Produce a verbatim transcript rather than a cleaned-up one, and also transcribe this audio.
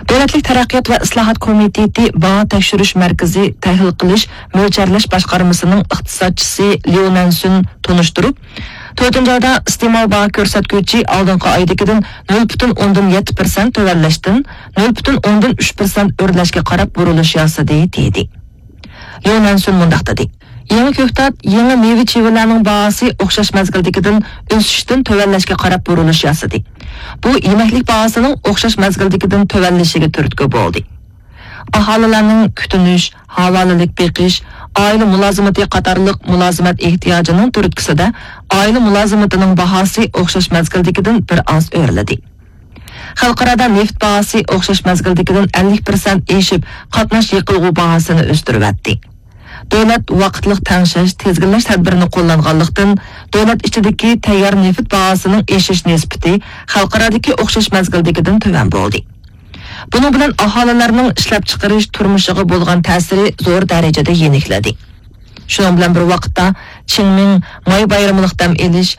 دۆلەتلىك تەرەققىيات ۋە ئىسلاھات كومىتېتى باھا تەكشۈرۈش مەركىزى تەھلىل قىلىش، مۆلچەرلەش باشقارمىسىنىڭ ئىقتىسادچىسى ليۇ نەنسۈن تونۇشتۇرۇپ، تۆتىنچى ئايدا ئىستېمال باھا كۆرسەتكۈچى ئالدىنقى ئايدىكىدىن نۆل پۈتۈن ئوندىن يەتتە پىرسەنت تۆۋەنلەشتىن نۆل پۈتۈن ئوندىن ئۈچ پىرسەنت ئۆرلەشكە قاراپ بۇرۇلۇش ياسىدى، دېدى. ليۇ نەنسۈن مۇنداق دېدى: يېڭى كۆكتات، يېڭى مېۋە-چېۋىلەرنىڭ باھاسى ئوخشاش مەزگىلدىكىدىن ئۆسۈشتىن تۆۋەنلەشكە قاراپ بۇرۇلۇش ياسىدى. بۇ يېمەكلىك باھاسىنىڭ ئوخشاش مەزگىلدىكىدىن تۆۋەنلىشىگە تۈرتكە بولدى. ئاھالىلەرنىڭ كۈتۈنۈش، ھاۋالىلىك بېقىش، ئائىلە مۇلازىمىتى قاتارلىق مۇلازىمەت ئېھتىياجىنىڭ تۈرتكىسىدە ئائىلە مۇلازىمىتىنىڭ باھاسى ئوخشاش مەزگىلدىكىدىن بىر ئاز ئۆرلىدى. خەلقئارادا نېفىت باھاسى ئوخشاش مەزگىلدىكىدىن ئەللىك پىرسەنت ئېشىپ، قاتناش يېقىلغۇ باھاسىنى ئۆستۈرۈۋەتتى. دۆلەت ۋاقىتلىق تەڭشەش، تىزگىنلەش تەدبىرىنى قوللانغانلىقتىن، دۆلەت ئىچىدىكى تەييار نېفىت باھاسىنىڭ ئېشىش نىسبىتى خەلقئارادىكى ئوخشاش مەزگىلدىكىدىن تۆۋەن بولدى. بۇنىڭ بىلەن ئاھالىلەرنىڭ ئىشلەپچىقىرىش تۇرمۇشىغا بولغان تەسىرى زور دەرىجىدە يېنىكلىدى. شۇنىڭ بىلەن بىر ۋاقىتتا، چىڭمىڭ، ماي بايرىملىق دەم ئېلىش،